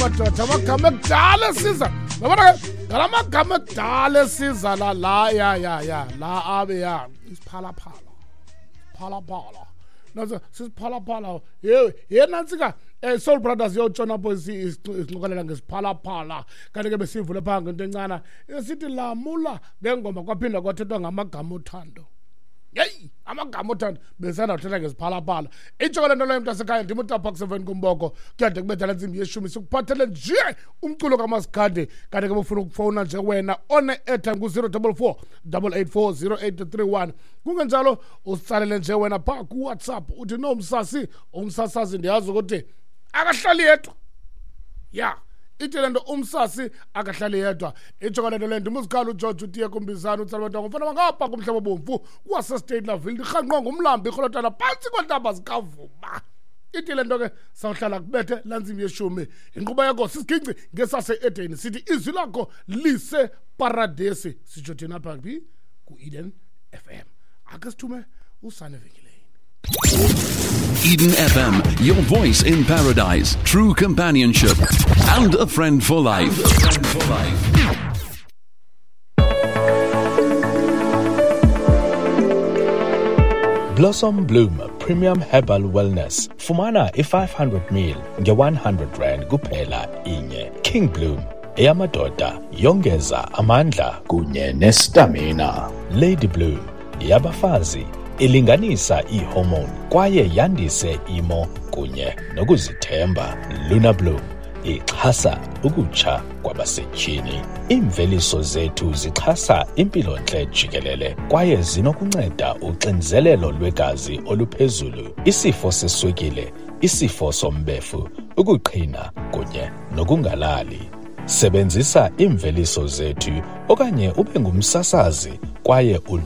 Madoda, amagama ekudala esiza, yabona ke ngala magama ekudala esiza la la ya ya ya la abe ya isiphalaphala, phalaphala naso sisiphalaphala. Ye ye nantsika, Soul Brothers yotshona apho isincokolela ngesiphalaphala. Kanti ke besivule phaa ngento encana esithi lamula ngengoma, kwaphinda kwathethwa ngamagama othando. Yeyi, amagama othando, besanda kuthetha ngesiphalaphala. Itsho ke le nto leyo, mntasekhaya, ndim utapha kuseveni kumboko, kuyade kubetha la ntsimbi yeshumi, sikuphathele nje umculo kamaskandi. Kanti ke bufuna ukufowuna nje wena one-airtime ku-044 884 0831. Kungenjalo usitsalele nje wena phaa kuWhatsApp, uthi no msasi, umsasazi ndiyazi ukuthi akahlali yedwa. Ya, ithi le nto umsasi akahlali yedwa. Itsho ke le nto leyo, ndimuzikhala uGeorge utiye kumbizana utsalabantwana ngumfana wangapha kumhlaba obomvu waseState Laville, ndirhanqwa ngumlambi irholotana phantsi kweentaba zikavuma. Ithi le nto ke sawuhlala kubethe laa ntsimbi yeshumi. Inkqubo yakho sisiginci ngesase-Edeni, sithi izwi lakho liseparadesi, sitsho thina pha phi ku-Eden FM. Ake sithume usana evenkileni. Eden FM, your voice in paradise, true companionship, and a friend for life. Blossom Bloom Premium Herbal Wellness. Fumana i-500 ml nge-100 rand kuphela inye. King Bloom eyamadoda, yongeza amandla kunye nestamina. Lady Bloom yabafazi, ilinganisa iihormone kwaye yandise imo kunye nokuzithemba. Luna Bloom ixhasa ukutsha kwabasetyhini. Iimveliso zethu zixhasa impilontle jikelele kwaye zinokunceda uxinzelelo lwegazi oluphezulu, isifo seswekile, isifo sombefu, ukuqhina kunye nokungalali. Sebenzisa iimveliso zethu okanye ube ngumsasazi kwaye